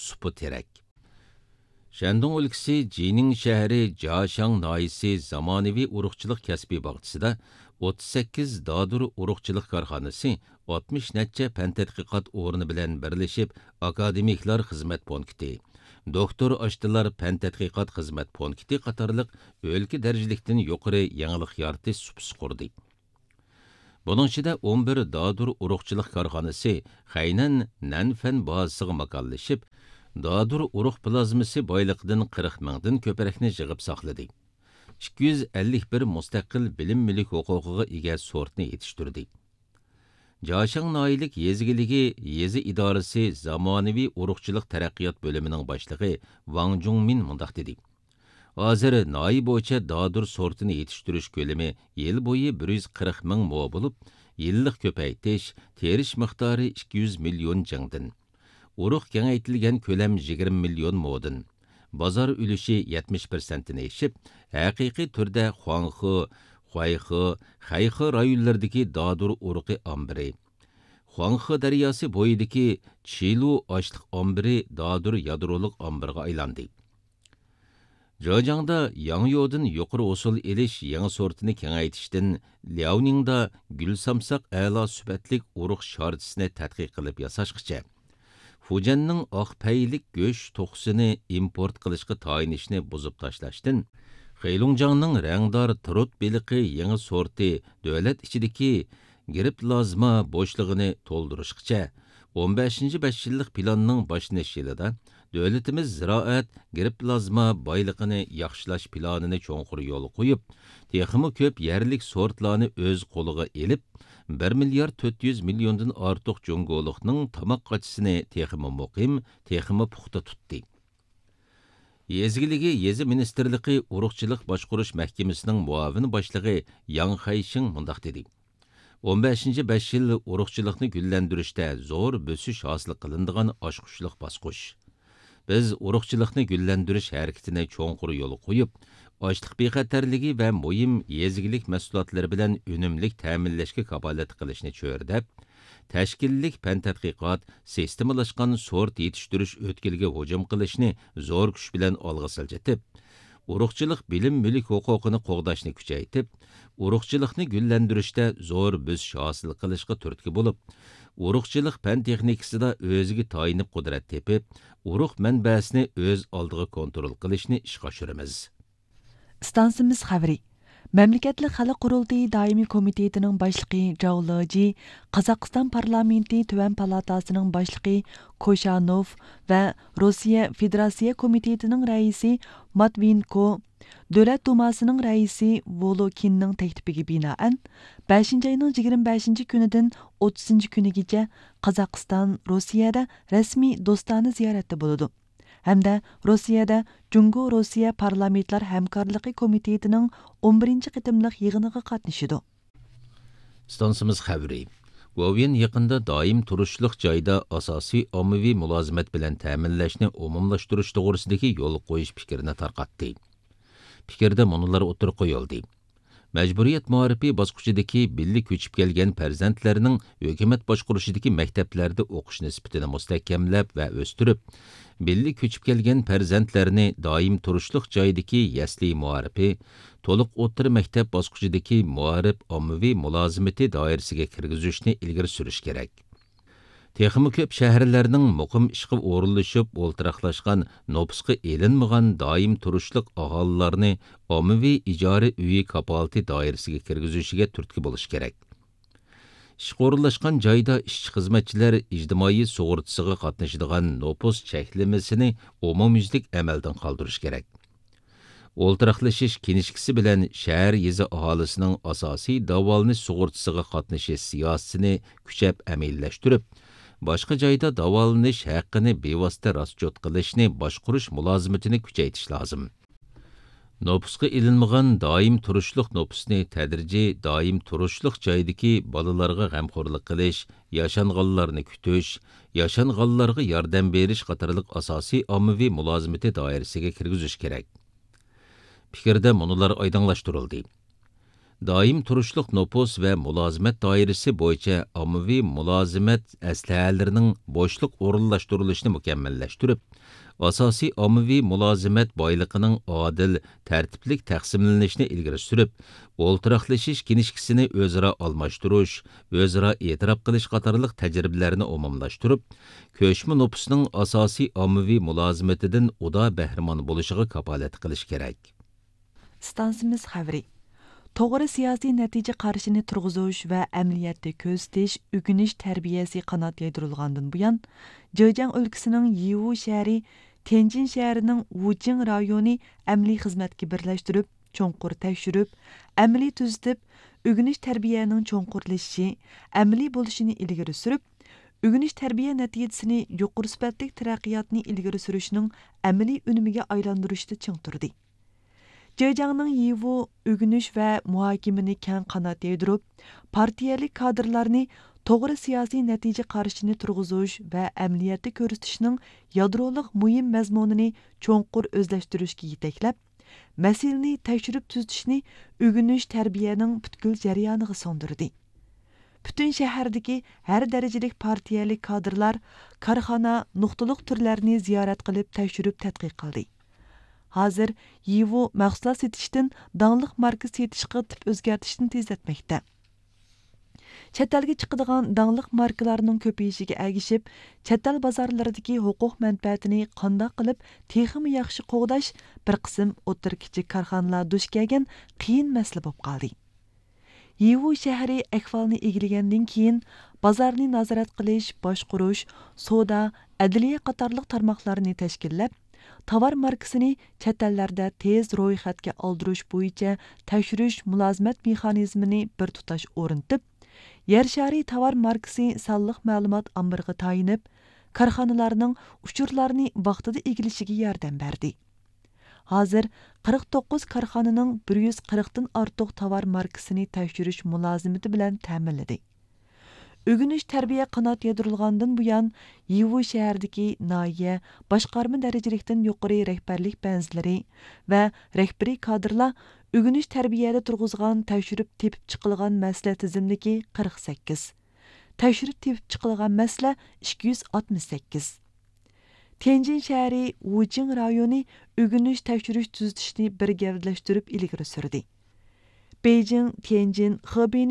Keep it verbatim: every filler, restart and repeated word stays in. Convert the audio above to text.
سۇپا تېرەك. شەندۇڭ ئۆلكىسى جىنىڭ شەھىرى جاشاڭ ناھىيەسى زامانىۋى ئۇرۇقچىلىق كەسپىي باغچىسىدا ئوتتۇز سەككىز دادۇر ئۇرۇقچىلىق كارخانىسى ئاتمىش نەچچە پەن تەتقىقات ئورنى بىلەن بىرلىشىپ، ئاكادېمىكلار خىزمەت پونكىتى، دوكتور ئاشتىلار پەن تەتقىقات خىزمەت پونكىتى قاتارلىق ئۆلكە دەرىجىلىكتىن يۇقىرى يېڭىلىق يارىتىش سۇپىسى قۇردى. بۇنىڭ ئىچىدە ئون بىر دادۇر ئۇرۇقچىلىق كارخانىسى خەينەن نەنفەن بازىسىغا ماكانلىشىپ، دادۇر ئۇرۇق پلازمىسى بايلىقىدىن قىرىق مىڭدىن كۆپرەكنى يىغىپ ساقلىدى. ئىككى يۈز ئەللىك بىر مۇستەقىل بىلىم مۈلۈك ھوقۇقىغا ئىگە سورتنى يېتىشتۈردى. جاشاڭ ناھىيەلىك يېزا ئىگىلىكى يېزا ئىدارىسى زامانىۋى ئۇرۇقچىلىق تەرەققىيات بۆلۈمىنىڭ باشلىقى ۋاڭ جۇڭمىن مۇنداق دېدى: ھازىر ناھىيە بويىچە دادۇر سورتىنى يېتىشتۈرۈش كۆلىمى يىل بويى بىر يۈز قىرىق مىڭ مو بولۇپ، يىللىق كۆپەيتىش، تېرىش مىقدارى ئىككى يۈز مىليون جىڭدىن. ئۇرۇق كېڭەيتىلگەن كۆلەم يىگىرمە مىليون مودىن. بازار ئۈلۈشى يەتمىش پىرسەنتتىن ئېشىپ، ھەقىقىي تۈردە خۇاڭخې، خۇەيخې، خەيخې رايونلىرىدىكى دادۇر ئۇرۇقى ئامبىرى، خۇاڭخې دەرياسى بويىدىكى چىلۇ ئاشلىق ئامبىرى دادۇر يادرولۇق ئامبىرىغا ئايلاندى. جېجياڭدا ياڭيودىن يۇقىرى ھوسۇل ئېلىش يېڭى سورتىنى كېڭەيتىشتىن لياۋنىڭدا گۈل سامساق ئەلا سۈپەتلىك ئۇرۇق شارچىسىنى تەتقىق قىلىپ ياساشقىچە، فۇجيەننىڭ ئاق پەيلىك گۆش توخۇسىنى ئىمپورت قىلىشقا تايىنىشنى بۇزۇپ تاشلاشتىن، خېلۇڭجياڭنىڭ رەڭدار ترۇت بېلىقى يېڭى سورتى دۆلەت ئىچىدىكى گىرىپلازما بوشلۇقىنى تولدۇرۇشقىچە، ئون بەشىنچى بەش يىللىق پىلاننىڭ باشلىنىش يىلىدا دۆلىتىمىز زىرائەت گىرىپلازما بايلىقىنى ياخشىلاش پىلانىنى چوڭقۇر يولغا قويۇپ، تېخىمۇ كۆپ يەرلىك سورتلارنى ئۆز قولىغا ئېلىپ، بىر مىليارد تۆت يۈز مىليوندىن ئارتۇق جۇڭگولۇقنىڭ تاماق قاچىسىنى تېخىمۇ مۇقىم، تېخىمۇ پۇختا تۇتتى. يېزا ئىگىلىكى يېزا مىنىستىرلىقى ئۇرۇقچىلىق باشقۇرۇش مەھكىمىسىنىڭ مۇئاۋىن باشلىقى ياڭ خەيشىڭ مۇنداق دېدى: ئون بەشىنچى بەش يىل ئۇرۇقچىلىقنى گۈللەندۈرۈشتە زور بۆسۈش ھاسىل قىلىنىدىغان ئاچقۇچلۇق باسقۇچ. بىز ئۇرۇقچىلىقنى گۈللەندۈرۈش ھەرىكىتىنى چوڭقۇر يولغا قويۇپ، ئاشلىق بىخەتەرلىكى ۋە مۇھىم يېزا ئىگىلىك مەھسۇلاتلىرى بىلەن ئۈنۈملۈك تەمىنلەشكە كاپالەتلىك قىلىشنى چۆرىدەپ، تەشكىللىك پەن تەتقىقات، سىستېمىلاشقان سورت يېتىشتۈرۈش ئۆتكىلىگە ھۇجۇم قىلىشنى زور كۈچ بىلەن ئالغا سىلجىتىپ، ئۇرۇقچىلىق بىلىم مۈلۈك ھوقۇقىنى قوغداشنى كۈچەيتىپ، ئۇرۇقچىلىقنى گۈللەندۈرۈشتە زور بۆسۈش ھاسىل قىلىشقا تۈرتكە بولۇپ، ئۇرۇقچىلىق پەن تېخنىكىسىدا ئۆزىگە تايىنىپ قۇدرەت تېپىپ، ئۇرۇق مەنبەسىنى ئۆز ئالدىغا كونترول قىلىشنى ئىشقا ئاشۇرىمىز. ئىستانسىمىز خەۋىرى. مەملىكەتلىك خەلق قۇرۇلتىيى دائىمىي كومىتېتىنىڭ باشلىقى جاۋ لېجى، قازاقىستان پارلامېنتى تۆۋەن پالاتاسىنىڭ باشلىقى كوشانوف ۋە روسىيە فېدېراتسىيە كومىتېتىنىڭ رەئىسى ماتۋىيېنكو، دۆلەت دۇماسىنىڭ رەئىسى ۋولوكىننىڭ تەكلىپىگە بىنائەن، بەشىنچى ئاينىڭ يىگىرمە بەشىنچى كۈنىدىن ئوتتۇزىنچى كۈنىگىچە قازاقىستان روسىيەدە رەسمىي دوستانە زىيارەتتە بولىدۇ ھەمدە روسىيەدە جۇڭگو روسىيە پارلامېنتلار ھەمكارلىقى كومىتېتىنىڭ ئون بىرىنچى قېتىملىق يىغىنىغا قاتنىشىدۇ. ئىستانسىمىز خەۋىرى. گوۋۇيۈەن يېقىندا دائىم تۇرۇشلۇق جايدا ئاساسىي ئاممىۋى مۇلازىمەت بىلەن تەمىنلەشنى ئومۇملاشتۇرۇش توغرىسىدىكى يول قويۇش پىكرىنى تارقاتتى. پىكىردە مۇنۇلار ئوتتۇرىغا قويۇلدى: مەجبۇرىيەت مائارىپى باسقۇچىدىكى بىللە كۆچۈپ كەلگەن پەرزەنتلەرنىڭ ھۆكۈمەت باشقۇرۇشىدىكى مەكتەپلەردە ئوقۇش نىسبىتىنى مۇستەھكەملەپ ۋە ئۆستۈرۈپ، بىللە كۆچۈپ كەلگەن پەرزەنتلەرنى دائىم تۇرۇشلۇق جايدىكى يەسلى مائارىپى، تولۇق ئوتتۇرا مەكتەپ باسقۇچىدىكى مائارىپ ئاممىۋى مۇلازىمىتى دائىرىسىگە كىرگۈزۈشنى ئىلگىرى سۈرۈش كېرەك. تېخىمۇ كۆپ شەھەرلەرنىڭ مۇقىم ئىشقا ئورۇنلىشىپ، ئولتۇراقلاشقان، نوپۇسقا ئېلىنمىغان دائىم تۇرۇشلۇق ئاھالىلەرنى ئاممىۋى ئىجارە ئۆيى كاپالىتى دائىرىسىگە كىرگۈزۈشىگە تۈرتكە بولۇش كېرەك. ئىشقا ئورۇنلاشقان جايدا ئىشچى-خىزمەتچىلەر ئىجتىمائىي سۇغۇرتىسىغا قاتنىشىدىغان نوپۇس چەكلىمىسىنى ئومۇميۈزلۈك ئەمەلدىن قالدۇرۇش كېرەك. ئولتۇراقلىشىش كىنىشكىسى بىلەن شەھەر، يېزا ئاھالىسىنىڭ ئاساسىي داۋالىنىش سۇغۇرتىسىغا قاتنىشىش سىياسىتىنى كۈچەپ ئەمەلىيلەشتۈرۈپ، باشقا جايدا داۋالىنىش ھەققىنى بىۋاسىتە راسچوت قىلىشنى باشقۇرۇش مۇلازىمىتىنى كۈچەيتىش لازىم. نوپۇسقا ئېلىنمىغان دائىم تۇرۇشلۇق نوپۇسنى تەدرىجىي دائىم تۇرۇشلۇق جايدىكى بالىلارغا غەمخورلۇق قىلىش، ياشانغانلارنى كۈتۈش، ياشانغانلارغا ياردەم بېرىش قاتارلىق ئاساسىي ئاممىۋى مۇلازىمىتى دائىرىسىگە كىرگۈزۈش كېرەك. پىكىردە مۇنۇلار ئايدىڭلاشتۇرۇلدى: دائىم تۇرۇشلۇق نوپۇس ۋە مۇلازىمەت دائىرىسى بويىچە ئاممىۋى مۇلازىمەت ئەسلىھەلىرىنىڭ بوشلۇق ئورۇنلاشتۇرۇلۇشىنى مۇكەممەللەشتۈرۈپ، ئاساسىي ئاممىۋى مۇلازىمەت بايلىقىنىڭ ئادىل، تەرتىپلىك تەقسىملىنىشىنى ئىلگىرى سۈرۈپ، ئولتۇراقلىشىش كىنىشكىسىنى ئۆزئارا ئالماشتۇرۇش، ئۆزئارا ئېتىراپ قىلىش قاتارلىق تەجرىبىلەرنى ئومۇملاشتۇرۇپ، كۆچمە نوپۇسنىڭ ئاساسىي ئاممىۋى مۇلازىمىتىدىن ئۇدا بەھرىمەن بولۇشىغا كاپالەتلىك قىلىش كېرەك. ئىستانسىمىز خەۋىرى. توغرا سىياسىي نەتىجە قارىشىنى تۇرغۇزۇش ۋە ئەمەلىيەتتە كۆرسىتىش ئۆگىنىش تەربىيەسى قانات يايدۇرۇلغاندىن بۇيان، جېجياڭ ئۆلكىسىنىڭ يىۋۇ شەھىرى تيەنجىن شەھىرىنىڭ ۋۇچىڭ رايونى ئەمەلىي خىزمەتكە بىرلەشتۈرۈپ، چوڭقۇر تەكشۈرۈپ، ئەمەلىي تۈزىتىپ، ئۆگىنىش تەربىيەنىڭ چوڭقۇرلىشىشى، ئەمەلىي بولۇشىنى ئىلگىرى سۈرۈپ، ئۆگىنىش تەربىيە نەتىجىسىنى يۇقىرى سۈپەتلىك تەرەققىياتنى ئىلگىرى سۈرۈشنىڭ ئەمەلىي ئۈنۈمىگە ئايلاندۇرۇشتا چىڭ تۇردى. جېجياڭنىڭ يىۋۇ ئۆگىنىش ۋە مۇھاكىمىنى كەڭ قانات يايدۇرۇپ، پارتىيەلىك كادىرلارنى توغرا سىياسىي نەتىجە قارىشىنى تۇرغۇزۇش ۋە ئەمەلىيەتتە كۆرسىتىشنىڭ يادرولۇق مۇھىم مەزمۇنىنى چوڭقۇر ئۆزلەشتۈرۈشكە يېتەكلەپ، مەسىلىنى تەكشۈرۈپ تۈزىتىشنى ئۆگىنىش تەربىيەنىڭ پۈتكۈل جەريانىغا سىڭدۈردى. پۈتۈن شەھەردىكى ھەر دەرىجىلىك پارتىيەلىك كادىرلار كارخانا، نۇقتىلىق تۈرلەرنى زىيارەت قىلىپ تەكشۈرۈپ تەتقىق قىلدى. ھازىر يىۋۇ مەھسۇلات سېتىشتىن داڭلىق ماركا سېتىشقا تىپ ئۆزگەرتىشنى تېزلەتمەكتە. چەت ئەلگە چىقىدىغان داڭلىق ماركىلارنىڭ كۆپىيىشىگە ئەگىشىپ، چەت ئەل بازارلىرىدىكى ھوقۇق مەنپەئەتىنى قانداق قىلىپ تېخىمۇ ياخشى قوغداش بىر قىسىم ئوتتۇرا، كىچىك كارخانىلار دۇچ كەلگەن قىيىن مەسىلە بولۇپ قالدى. يىۋۇ شەھىرى ئەھۋالنى ئىگىلىگەندىن كېيىن، بازارنى نازارەت قىلىش، باشقۇرۇش، سودا، ئەدلىيە قاتارلىق تارماقلارنى تەشكىللەپ، تاۋار ماركىسىنى چەت ئەللەردە تېز رويخەتكە ئالدۇرۇش بويىچە تەكشۈرۈش مۇلازىمەت مېخانىزمىنى بىر تۇتاش ئورنىتىپ، يەر شارى تاۋار ماركىسى سانلىق مەلۇمات ئامبىرىغا تايىنىپ، كارخانىلارنىڭ ئۇچۇرلارنى ۋاقتىدا ئىگىلىشىگە ياردەم بەردى. ھازىر قىرىق توققۇز كارخانىنىڭ بىر يۈز قىرىقتىن ئارتۇق تاۋار ماركىسىنى تەكشۈرۈش مۇلازىمىتى بىلەن تەمىنلىدى. ئۆگىنىش تەربىيە قانات يايدۇرۇلغاندىن بۇيان، يىۋۇ شەھەردىكى ناھىيە، باشقارما دەرىجىلىكتىن يۇقىرى رەھبەرلىك بەنزىلىرى ۋە رەھبىرىي كادىرلار ئۆگىنىش تەربىيەدە تۇرغۇزغان تەكشۈرۈپ تېپىپ چىقىلغان مەسىلە تىزىملىكى قىرىق سەككىز، تەكشۈرۈپ تېپىپ چىقىلغان مەسىلە ئىككى يۈز ئاتمىش سەككىز. تيەنجىن شەھىرى ۋۇچىڭ رايونى ئۆگىنىش تەكشۈرۈش تۈزىتىشنى بىر گەۋدىلەشتۈرۈپ ئىلگىرى سۈردى. بېيجىڭ، تيەنجىن، خېبېينى